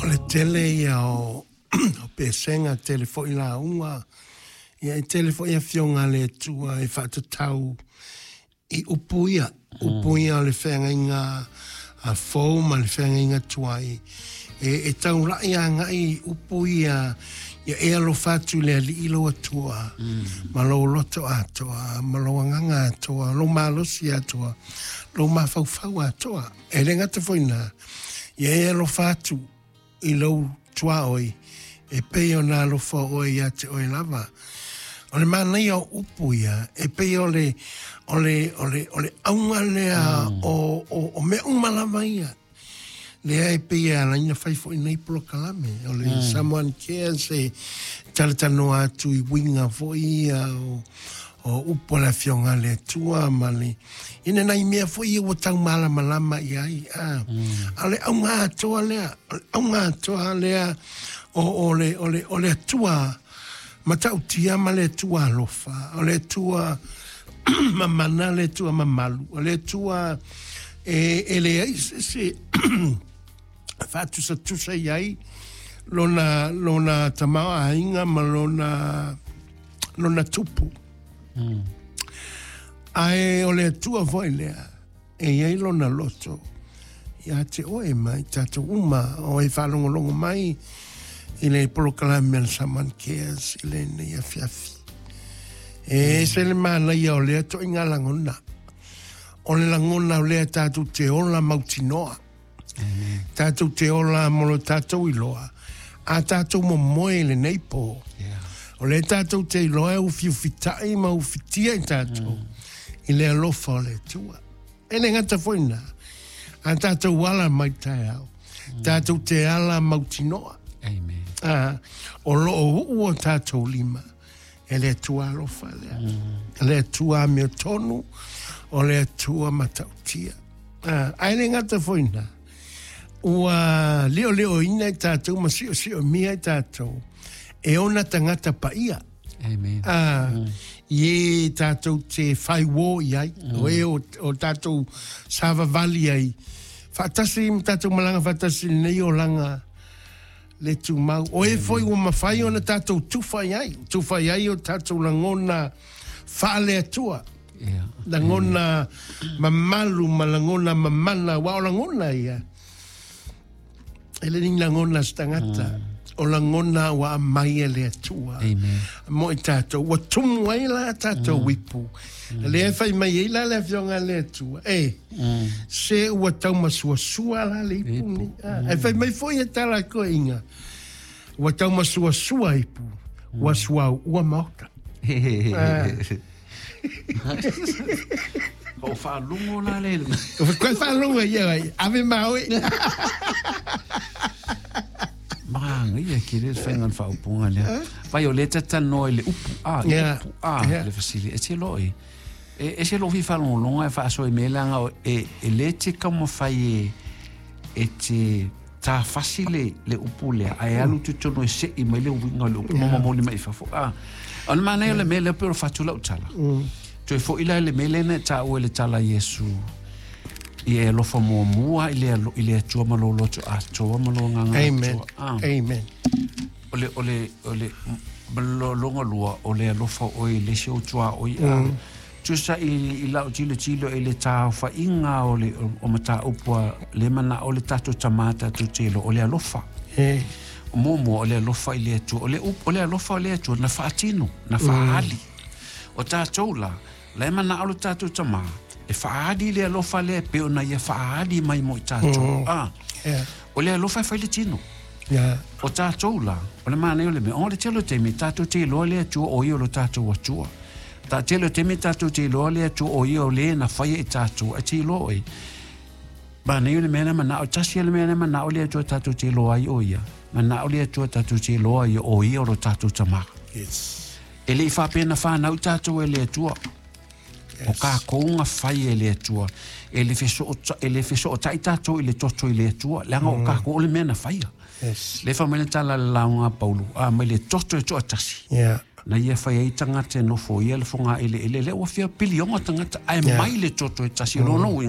O le tele ia o pesega, tele foi lauga, ia e tele foi afioga a le Atua e faatatau i upu ia, upu ia o le feagaiga fou ma le feagaiga tuai, e taulai agai i upu ia, ia e alofa atu i le Alii lou Atua, ma lou loto atoa, ma lou agaga atoa, lou malosi atoa, lou mafaufau atoa. E le gata foi i lena, ia e alofa atu i lou tuaoi, e pei ona alofa oe ia te oe lava. O le manaia o upu ia, e pei o le, o le, o le, o le auga lea o mea uma lava ia. Lea e pei e ala ai ona fai foi nei polokalame. O le Someone Cares e talatalanoa atu i uiga foi ia o upu a le Afioga a le Atua ma le ina nai mea foi ia ua tau malamalama i ai. A o le auga atoa lea, o le auga atoa lea o le Atua matautia ma le Atua alofa, o le Atua mamana, le Atua mamalu, o le Atua e leai se faatusatusa i ai lona tamaoaiga ma lona tupu. Ae o le Atua foi lea e i ai lona loto ia te oe ma i tatou uma o e faalogologo mai i le polokalame a le Someone Cares i lenei afiafi. E ese le manaia o lea toaiga lagona. O le lagona o lea tatou te ola mautinoa. Tatou te ola mo lo tatou iloa. A tatou momoe i lenei po. O lea tatou te iloa e ufiufitai ma ufitia i tatou i le alofa o le Atua. E le gata foi na, a tatou ala mai taeao, tatou te ala mautinoa. Amen. O loo uu o tatou lima, e le Atua alofa lea. E le Atua amiotonu, o le Atua matautia. Ae le gata foi na, ua leoleoina i tatou ma siosiomia i tatou, e ona tagata paia. Amen. I e tatou te whai wō i ai, o e o tatou savavali ai. Whaatasi ma tatou malanga whaatasi nei o langa le tumau. O e foi ua mawhai ona tatou tufa i ai. Tufa i ai o tatou langona whaale atua. Langona mamalu ma langona mamana. Wa o langona ia. E le ni langona se tagata. O langona ua aumai e le Atua. Amen. Mo i tatou. Ua tumu ai la tatou ipu. Lea e fai mai ai la le afioga a le Atua. E, se ua taumasuasua la le ipu ni. E fai mai foi e tala a toeaiina. Ua taumasuasua ipu. Ua suauua maota. O faalogo la le. Koe faalogo ia ai. Ave ma oe. Manaia ke le faiga o le faaupuga lea. Vai o lea e talatalanoa i le upu a, i le upu a, le fesili, e te loa e, e ese lou fia faalogologo ae faasoa i mea leaga e, e le te taumafai e, e te tafasi le, le upu lea, ae alu totonu e sei mai le uiga o le upu ma momoli mai i fafo. A, o le manaia o le mea lea pei o le fatu lau tala. Toe foi la i le mea lea na e taua i le tala a Iesu, ia e alofa muamua i le, i le Atua ma lou loto atoa ma lou agaga Amen. atoa. Ah. Amen. O le, o le, o le, ma le lona lua, o le alofa oe i le isi ou tuaoi. Mm. Tusa i, i lau tilotilo i le taofaiga o le o mataupu a le manao o le tatou Tamā tatou te iloa, o le alofa. E. O muamua, o le alofa i le Atua. O le, o le alofa o le Atua na faatino, na faaali. O tatou la, la e manao lo tatou Tamā e faaali le alofa lea e pei ona ia faaali mai mo i tatou. Ah. Yeah. O le alofa e fai le tino. Yeah. O tatou la, o le manaia o le mea, o le tele o taimi, tatou te iloa le Atua o ia o lo tatou Atua. Ta tele o taimi tatou te iloa le Atua o ia o le na faia i tatou, ae te iloa oe. Manaia o le mea lea manao, tasi le mea lea manao le Atua tatou te iloa ai o ia. Manao le Atua tatou te iloa ia o ia o lo tatou Tamā. Yes. E le i faapea na fanau tatou e le Atua. Yes. O kākou na fai e le Atua. E le fesootai tatou i le toto i le Atua. Leaga o kākou o le mea na faia. Yes. Le fai mai le tala a le lauga a Paulo, a mai le toto e toatasi. Yeah. Na ia fai ai tagata e nofoia le fogaeleele, lea ua fia piliona tagata, ae mai le toto e tasi. O lona uiga,